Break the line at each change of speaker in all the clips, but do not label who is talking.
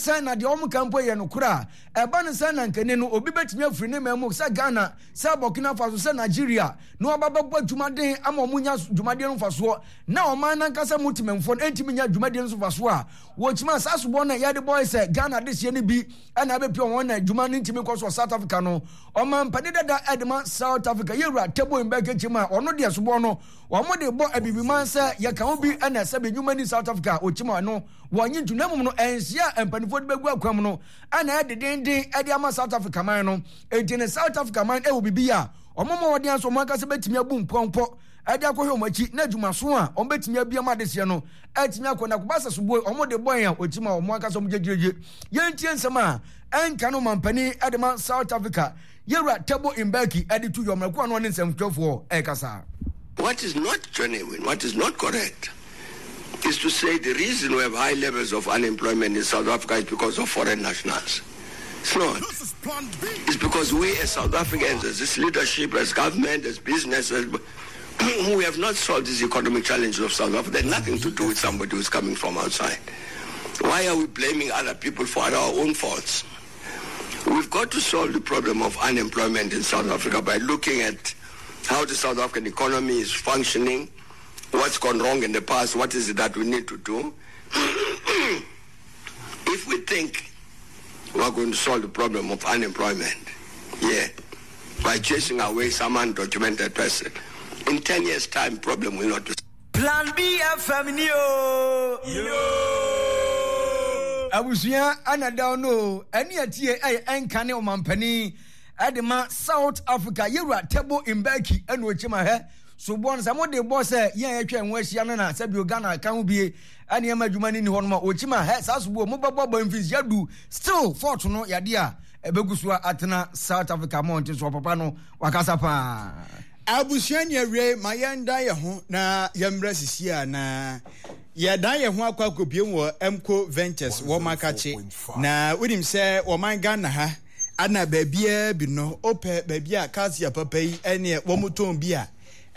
sɛn na deɛ wɔn ka mpo yɛ nokorɛ a, ɛba no sɛn na nkani no obi bɛtumi afiri ne man mu sɛ Ghana, sɛ Burkina Faso, sɛ Nigeria na waba bɛbɔ adwumaden ama wɔn nya dwumadie no mfasoɔ na ɔman no ankasa mu temamfoɔ no ntumi nya dwumadie no so mfasoɔ a, wɔkyima saa soboɔ no a yɛde bɔe sɛ Ghana adehyeɛ no bi na abɛpia wɔn na adwuma no ntumi nkɔ so wɔ South Africa no. Ɔmampanin dada de ma South Africa yɛwura Thabo Mbeki kyima a ɔno deɛ soboɔ no wɔn de bɔ abibiman sɛ yɛka ho bi na sɛbi nnwuma ni South Africa ɔkyima no wɔnye ntu na mmom no ɛnhyia a mpanimfoɔ de bɛgu akwan mu no ɛna ɛdedenden de ama South Africa man no. Enti ne South Africa man ɛwɔ biribi a wɔn ma wɔde aso wɔn ankasa bɛtumi abu mpɔmpɔ ɛde akɔhwɛ wɔn akyi na adwumaso a wɔn bɛtumi abia ma adehyeɛ no atumi akɔ na kɔba sɛ soboe wɔn de bɔn a wɔkyi ma wɔn ankasa wɔn gyegyegye. Yɛntie nsɛm a ɛnka no mampanin ɛde ma South Africa yɛwura Thabo Mbeki ɛde to yɔmmerɛ ko ano ne nsɛmtwerɛfoɔ ɛrekasa.
What is not genuine, what is not correct, is to say the reason we have high levels of unemployment in South Africa is because of foreign nationals. It's not. It's because we as South Africans, as this leadership, as government, as business, as, we have not solved these economic challenges of South Africa. They nothing to do with somebody who's coming from outside. Why are we blaming other people for our own faults? We've got to solve the problem of unemployment in South Africa by looking at how the South African economy is functioning, what's gone wrong in the past, what is it that we need to do. If we think we're going to solve the problem of unemployment, yeah, by chasing away some undocumented person, in 10 years' time, problem will not be
Plan B FM ni o. Abusua ana da no o. Ɛne atie ɛyɛ ɛnka ne ɔmampanin ɛde ma South Africa yɛwura Thabo Mbeki ɛna ɔkyim ahɛ soboɔ no sɛ mode bɔ sɛ yɛn a yɛtwa ɛho ahyia no na sɛ bio Ghana ka ho bie ɛne ɛma adwuma no ni hɔ nom a ɔkyim ahɛ saa soboɔ mobɛbɔ bɔ mfinhyia du still fort no yadeɛ a ɛbɛgu so atena South Africa mmɔnten so ɔpapa no wakasa paa.
Abusua ni awiei ma yɛndan yɛn ho na yɛmmrɛ sisi a na yɛdan yɛn ho akɔ akɔbiem wɔ Mco Ventures wɔ Makakye na wonim sɛ wɔman Ghana ha ana baabiara bi no wopɛ baabi a calcium papa yi ɛneɛ wɔn tɔn bi a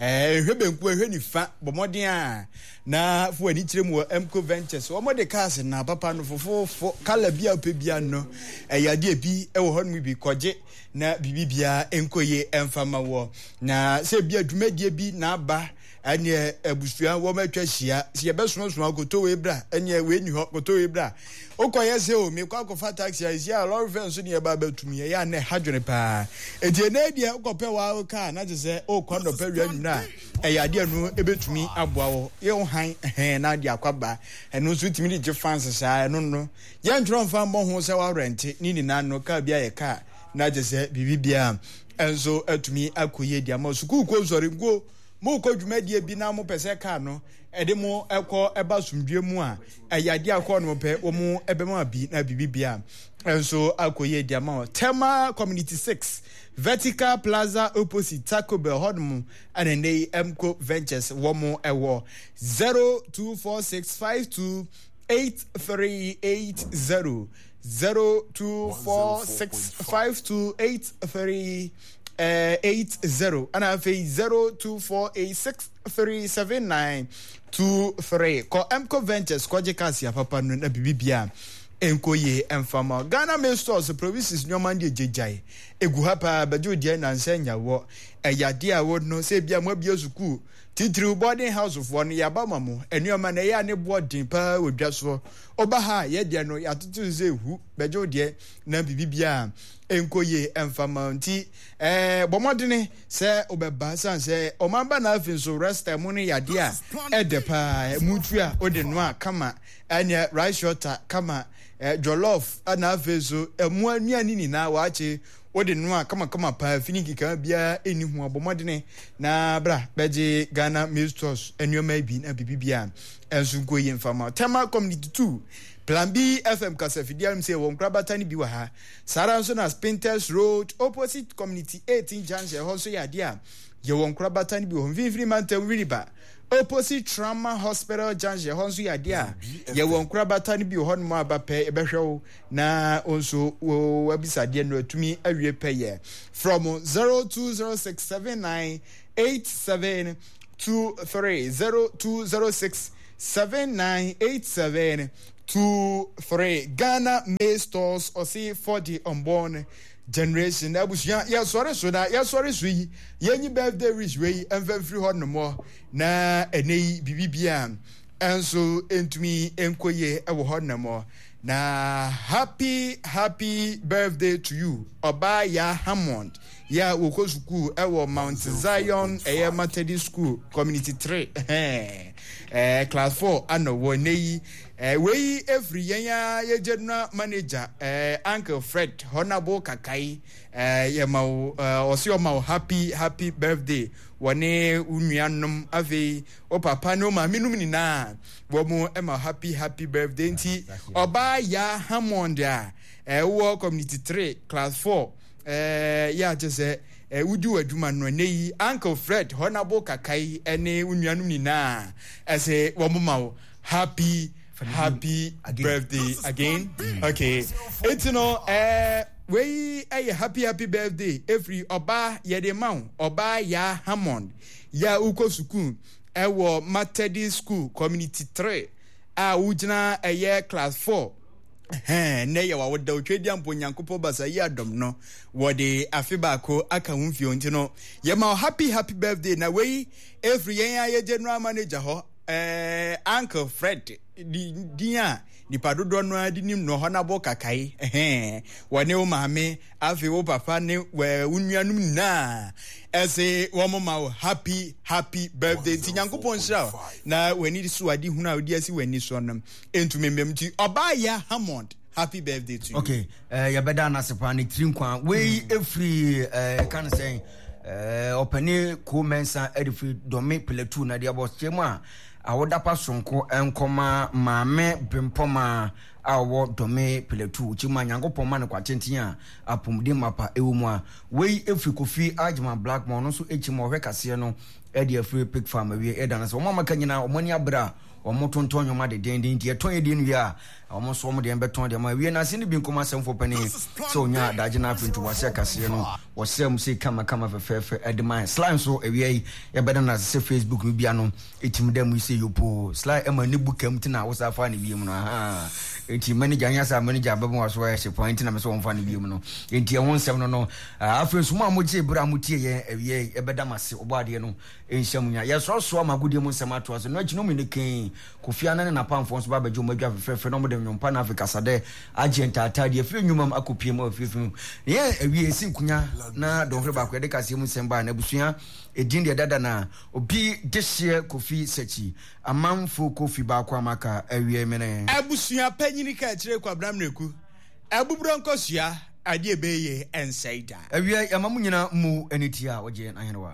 ɛhwɛ benku ɛhwɛ nifa bɔ mmɔden a na fo ani kyerɛ mu wɔ Mco Ventures wɔn de cars na papa no fofofo kala bi a wopɛ bi ano ɛyɛ adeɛ bi ɛwɔ hɔ nom bi kɔgye na biribi biara nkɔ yie ɛmfa ma wɔ na sɛ bi a dwumadie bi na aba ɛneɛ abusua wɔn atwa ahyia sɛ yɛbɛsomasoma koto wei bra ɛneɛ wei ni hɔ koto wei bra wokɔyɛ sɛ o mekɔ akɔfa taxi a ɛsi a lɔre fɛ nso ne yɛba abɛtum yɛyɛ a na ɛha dwene paa ɛti ɛnɛ deɛ wokɔpɛ waa kaa na kyɛ sɛ wokɔ nɔpɛ wia nwunu a ɛyɛ adeɛ no ɛbɛtumi aboa wɔ yɛ wo han hɛn na ade akɔ aba ɛno nso wotumi de gye fans saa ɛno no Yɛntwerɛ mfa mmɔ ho sɛ woarɛnte ne nyinaa no kaa bi ayɛ kaa na kyɛ sɛ biribi biara nso atumi akɔ yie de ama sukuu kɔ nsɔre nkuo mokɔ dwumadie bi na mopɛ sɛ kaa no ɛde mo ɛkɔ ɛba asomdwie mu a ɛyɛ adeɛ akɔ no pɛ wɔn ɛbɛma bi na biribi biara nso akɔ yie de ama Tema Community 6 Vertical Plaza opposite Taco Bell hɔnom ɛna nnɛ yi Mco Ventures wɔn ɛwɔ 024652 8380 0246 5283 80 ɛna afei 0248 637923 kɔ Mco Ventures kɔgye cars ya papa no na biribi bia nkɔ yie ɛmfa ma Ghana Mail Stores provisions nneɛma no deɛ gyegyae egu ha paa bɛgye odiɛ nansa nya wɔ ɛyɛ adeɛ a wɔ no sɛ ebia mo abie sukuu Titiriw boarding house foɔ no yɛaba ma mo nnoɔma no ɛyɛ a ne boɔ den paa wɔ dwa soɔ woba ha a yɛdeɛ no yɛatoto so sɛ hu bɛgye wo deɛ na biribi biara nkɔ yie ɛmfa ma nti ɛɛ bɔ mmɔdene sɛ wobɛba sane sɛ ɔman ba na afei nso resta mu no yadeɛ a ɛdɛ paa ɛmu tu a wode noa kama ɛneɛ rice water kama jollof ɛna afei nso ɛmu anuane nyinaa waakye Wode noa kamakama paa fini nkekaha biara nni ho a, bɔ mmɔdene na bra bɛgye Ghana Maize Stores nneɛma yi bi na biribi biara nso nkɔ yie mfa ma. Tema Community 2, Plan B FM kasafidie anom sɛ yɛwɔ nkorabata no bi wɔ ha. Saa ara nso na Spintex Road opposite Community 18 Junction ɛhɔ nso yɛ adeɛ a yɛwɔ nkorabata no bi wɔ hɔ. Mfimfini Mantam Winneba opposite Trauma Hospital Junction ɛhɔ nso yɛ adeɛ a yɛwɔ nkorabata no bi wɔ hɔ nom a ba pɛ yɛbɛhwɛ wo na wo nso w'abisadeɛ no atumi awie pɛyɛ. Frɛ mo 0206798723 0206798723. 23 Ghana Maize Stores ɔse for the unborn generation. Abusua yɛsɔre so na yɛsɔre so yi yɛnyi birthday wish wei mfa mfiri hɔ nomɔ na ɛnɛ yi biribi bia nso ntumi nkɔ yie wɔ hɔ nomɔ na happy happy birthday to you ɔbaa ya Hammond yɛ a wɔkɔ sukuu wɔ Mount Zion ɛyɛ Methodist School Community 3 ɛɛ class 4 ana wɔ nnɛ yi ɛɛ wei efiri yɛn a yɛ general manager ɛɛ Uncle Fred Honorable Kakai ɛɛ yɛ ma wo ɛɛ ɔsi ɔma wo happy happy birthday wɔne wo nuanom afei wo papa ne wo maame nom nyinaa wɔn ɛma happy happy birthday nti ɔbaa ya Hammond a ɛwɔ Community 3 class 4 Ɛɛ yɛ a kyɛ sɛ ɛɛ wodi w'adwuma no ɛnɛ yi Uncle Fred Honorable Kakai ɛne wo nuanom nyinaa ɛsɛ wɔn ma wo happy happy birthday again okay eti no ɛɛ wei ɛyɛ happy happy birthday efiri ɔbaa yɛde ma wo ɔbaa yaa Hammond yɛ a wokɔ sukuu ɛwɔ Methodist School Community 3 a wogyina ɛyɛ class 4. Ɛhɛn, nnɛ yɛ w'awoda, Otwedeampo Nyankopɔn Basa yi adom no, wɔde afe baako aka wo mfie nti no, yɛma wo happy happy birthday, na wei ɛfiri yɛn a yɛ general manager hɔ, eh, Uncle Fred, di, din a nipa dodoɔ no ara de nim no, Honorable Kakai, ɛhɛn, wɔne wo maame, afei wo papa ne wo nuanom nyinaa, ɛse wɔn ma wo happy happy birthday, nti Nyankopɔn nhyira wo, na w'ani so ade hunu a wode asi w'ani soɔ no, Entumi mmam nti ɔbaa ya Hammond happy birthday to you.
Okay, eh, yɛbɛda no ase paa ne tiri nkwa wei ɛfiri mm. eh, ka no sɛn eh, ɔpɛne ko mɛnsa ɛde firi dɔme platu na deɛ bɔ kyɛ mu a awodapa sonko nkɔma maame brempɔma a ɔwɔ dɔme platu kyɛ mu a nyankopɔn ma no kwatenten a apɔmuden mapa ɛwɔ mu a wei ɛfiri kofi agyema blackmore ɔno nso ɛkyɛ mu ɔhwɛ kaseɛ no ɛde afiri pig farm awie ɛda no sɛ wɔn a maka nyinaa wɔn ani abere a Wɔtontɔn nneɛma dendeenden nti yɛtɔn yɛn deɛ no wie a, wɔn nso wɔn deɛ bɛtɔn deɛ ma. Awie no ase no bi nkɔm asɛmfoɔ panin sɛ ɔnya adagye no afei ntoboaseɛ kaseɛ no wɔsrɛ mu sei kama kama fɛfɛɛfɛ de ma yɛn. Sly nso awia yi yɛbɛda no ase sɛ Facebook no bia no ɛtumi da mu yi sɛ yopoo. Sly ɛma ne bu kam ti na wosa fa ne wiem no ahaa. Enti manager nyɛ sɛ manager bɛma waso ayɛ hye paa nti na me sɛ wɔmfa ne wiem no. Enti ɛho nsɛm no no. Afei nso mo a mogyee berɛ a motie yɛn awia yi yɛbɛda mo ase ɔbɔ adeɛ no Nhyɛ mu nya. Yɛsoasoa mo agodie mu nsɛm atoa so. Ɛno akyi no, wɔn ne Kain, Kofi Annan ne n'apamfoɔ nso ba abɛgye wɔn adwa fɛfɛɛfɛ na wɔde nnwom pa na afei kasadɛ agye ntaataa de afiri nnwuma mu akɔpue mu afiafi mu. Na yɛn awie yɛsi nkonya na dɔnhwere baako yɛde kaseɛ mu nsɛm baa n'abusua edin deɛ dada na obi dehyeɛ Kofi Sakyi amanfo Kofi baako a maka awie mene.
Abusua panyini ka akyire Kwabena Miraku Abuburo nkosua adeɛ ɛbɛyɛ yie ɛnsɛe da.
Awia yi ama mo nyinaa mmu ani tia a wɔgye yɛn ahenewa.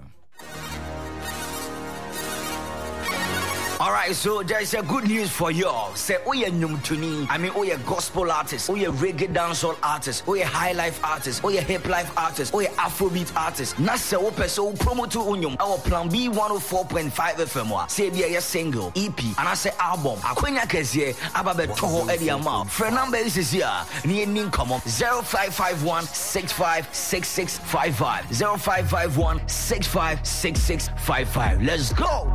Alright, so there's a good news for you. Say, oh yeah, nnwomtoni. I mean, oh yeah, gospel artist, oh yeah, reggae dancehall artist, oh yeah, high life artist, oh yeah, hip life artist, oh yeah, Afrobeat artist. Na sɛ wopɛ sɛ wo promote wo nnwom ɛwɔ Plan B 104.5 FM a, sɛ ebi ɛyɛ single, EP, anaasɛ album, akwanya kɛseɛ aba bɛtɔ hɔ ɛde ama wo. Frɛ number yi sisi a na yɛnni nkɔmmɔ 0551 6566 55 0551 656655. Let's go!